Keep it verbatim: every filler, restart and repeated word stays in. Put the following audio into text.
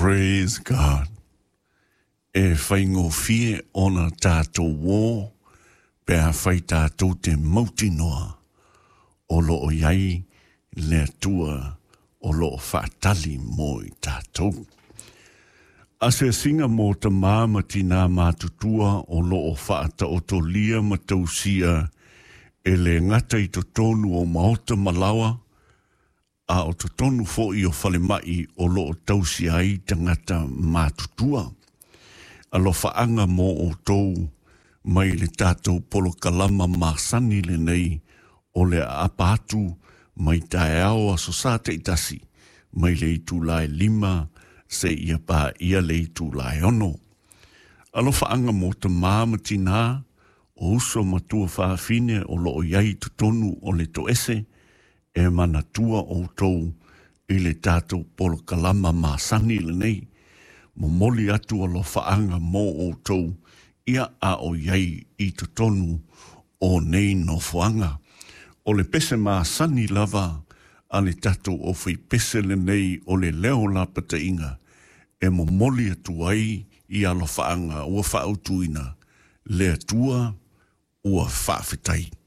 Praise God. E whaingofie ona tātou wō, pe a whai tātou te mautinoa o lo o iai le atua o lo o whaatali mō i tātou. Asiasiga mō tamā ma tinā matutua o lo o whaataotolia ma tausia e le gata i totonu o maota ma laoa, a o totonu fo'i o falemai o lo o tausia ai tagata matutua. Alofaaga mo outou mai le tatou polokalama masani lenei o le aapa atu mai taeao aso Sā taitasi mai le itulā e lima seia paia le itulā e ono. Alofaaga mo tamā ma tinā o uso ma tuafafine o lo o i ai i totonu o le toese e manatua outou i le tatou polokalama masani lenei. Momoli atu alofaaga mo outou ia a o i ai i totonu o nei nofoaga. O le pese masani lava a le tatou aufaipese lenei o le leo lapataiga e momoli atu ai i alofaaga ua faautuina le Atua ua faafetai.